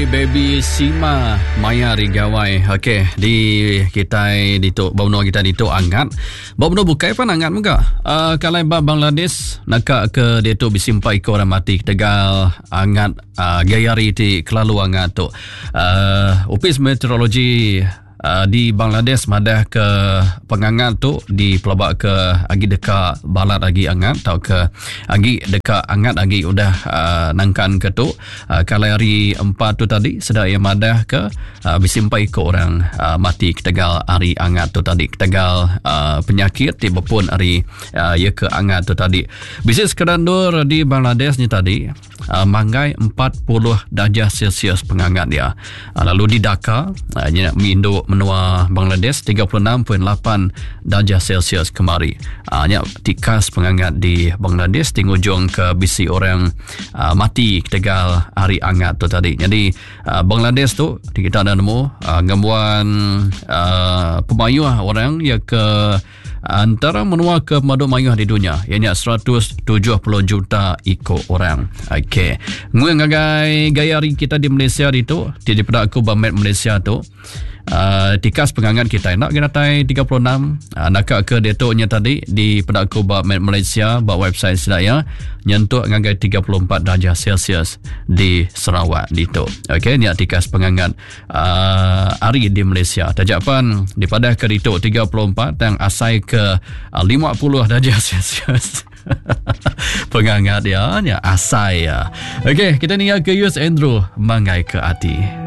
Baby Sima maya hari gawai. Okey, di kitai ditu ba menua kitai ditu angat. Ba menua bukai pan angat mega. Uh, kalai ba Bangladesh naka ke ditu bisi empat iku orang mati ketegal angat uh, gaya hari ti kelalu angat tu. Uh, Opis Meteorologi Uh, di Bangladesh madah ke pengangat tu dipelaba ke agi deka balat agi angat tauka agi deka angat agi udah uh, nangkan ke tu uh, kalai hari empat tu tadi sida iya madah ke uh, bisi empat iku orang uh, mati ketegal hari angat tu tadi ketegal uh, penyakit ti bepun ari uh, iya ke angat tu tadi bisi sekeda endur di Bangladesh ni tadi uh, manggai 40 darjah Celsius pengangat dia. Uh, lalu di Dhaka, uh, nya indu menua Bangladesh 36.8 darjah Celsius kemari. Uh, nya tikas pengangat di Bangladesh ti ngujung ke bisi orang uh, mati ketegal hari angat tu tadi. Jadi uh, Bangladesh tu kita dah nemu uh, ngembuan uh, pemayuh orang ya ke Antara menua ke pemadu mayuh di dunya iya nya 170 juta iku orang. Okey. Nguing ngagai gaya hari kita di Malaysia ditu, ti dipeda aku ba map Malaysia tu. Uh, tikas pengangat kita enda ke datai 36 uh, naka ke diatu nya tadi dipeda aku ba map Malaysia ba website sida iya nyentuk ngagai 34 darjah Celsius di Sarawak ditu. Okey, nya tikas pengangat uh, hari di Malaysia. Taja pan dipadah ke ditu 34 tang asai ke uh, 50 darjah Celsius. Pengangat dia nya asai ya. Okey, kita ninga ke Yus Andrew mangai ke ati.